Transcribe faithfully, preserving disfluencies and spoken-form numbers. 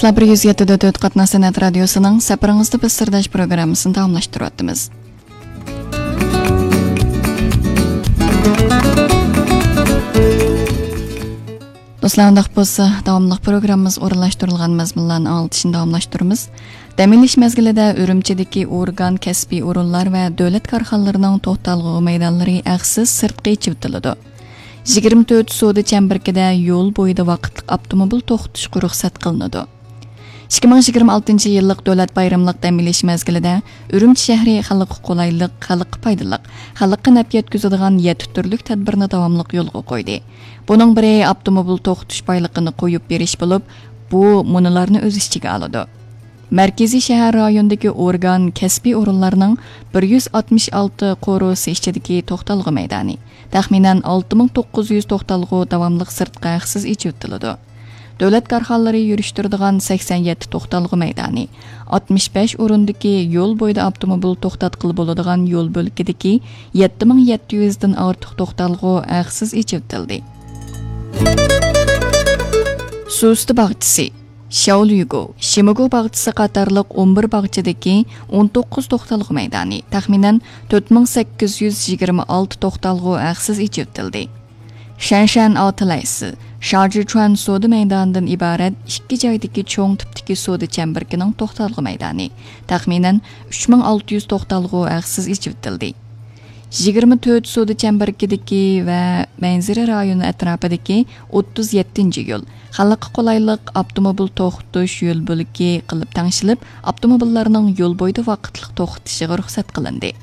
سىلەر بىر يۈز يەتتە دۆت قاتناش سەنئەت رادىيوسىنىڭ سەپىرىڭىزدە بىز سىرداش پروگراممىسىنى داۋاملاشتۇرۇۋاتىمىز. دوستلار، ئۇنداق بولسا، داۋاملىق پروگراممىمىز ئورۇنلاشتۇرۇلغان مەزمۇنلارنى ئاڭلىتىشنى داۋاملاشتۇرىمىز. دەم ئېلىش مەزگىلىدە ئۈرۈمچىدىكى ئورگان، كەسپىي ئورۇنلار ۋە دۆلەت كارخانىلىرىنىڭ توختالغۇ مەيدانلىرى ھەقسىز سىرتقا ئېچىۋېتىلىدۇ. يىگىرمە تۆت سودا چەمبىرىكىدە يول بويىدا ۋاقىتلىق ئاپتوموبىل توختىتىشقا رۇخسەت قىلىنىدۇ. ئىككى مىڭ يىگىرمە ئالتىنچى يىللىق دۆلەت بايرىملىق دەم ئېلىش مەزگىلىدە ئۈرۈمچى شەھىرى خەلققە قولايلىق، خەلققە پايدىلىق، خەلققە نەپ يەتكۈزىدىغان يەتتە تۈرلۈك تەدبىرنى داۋاملىق يولغا قويدى. بۇنىڭ بىرى ئاپتوموبىل توختىتىش بايلىقىنى قويۇپ بېرىش بولۇپ، بۇ مۇنۇلارنى ئۆز ئىچىگە ئالىدۇ. مەركىزىي شەھەر رايونىدىكى ئورگان، كەسپىي ئورۇنلارنىڭ بىر يۈز ئاتمىش ئالتە قورۇسى ئىچىدىكى توختالغۇ مەيدانى، تەخمىنەن ئالتە مىڭ توققۇز يۈز توختالغۇ داۋاملىق سىرتقا ھەقسىز ئېچىۋېتىلىدۇ. دۆلەت كارخانىلىرى يۈرۈشتۈرىدىغان سەكسەن يەتتە توختالغۇ مەيدانى، ئاتمىش بەش ئورۇندىكى يول بويىدا ئاپتوموبىل توختاتقىلى بولىدىغان يول بۆلىكىدىكى يەتتە مىڭ يەتتە يۈزدىن ئارتۇق توختالغۇ ھەقسىز ئېچىۋېتىلدى. سۇستا باغچىسى، شياۋلۈگو، شىمىگو باغچىسى قاتارلىق ئون بىر باغچىدىكى ئون توققۇز توختالغۇ مەيدانى، تەخمىنەن تۆت مىڭ سەككىز يۈز يىگىرمە ئالتە توختالغۇ ھەقسىز ئېچىۋېتىلدى. شەنشەن ئاۋتلەتس، شاجىچۈەن سودا مەيدانىدىن ئىبارەت ئىككى جايدىكى چوڭ تىپتىكى سودا چەمبىرىكىنىڭ توختالغۇ مەيدانى، تەخمىنەن ئۈچ مىڭ ئالتە يۈز توختالغۇ ھەقسىز ئېچىۋېتىلدى. يىگىرمە تۆت سودا چەمبىرىكىدىكى ۋە مەنزىرە رايونى ئەتراپىدىكى ئوتتۇز يەتتىنچى يول، خەلققە قولايلىق ئاپتوموبىل توختىتىش يول بۆلىكى قىلىپ تەڭشىلىپ، ئاپتوموبىللارنىڭ يول بويىدا ۋاقىتلىق توختىتىشىغا رۇخسەت قىلىندى.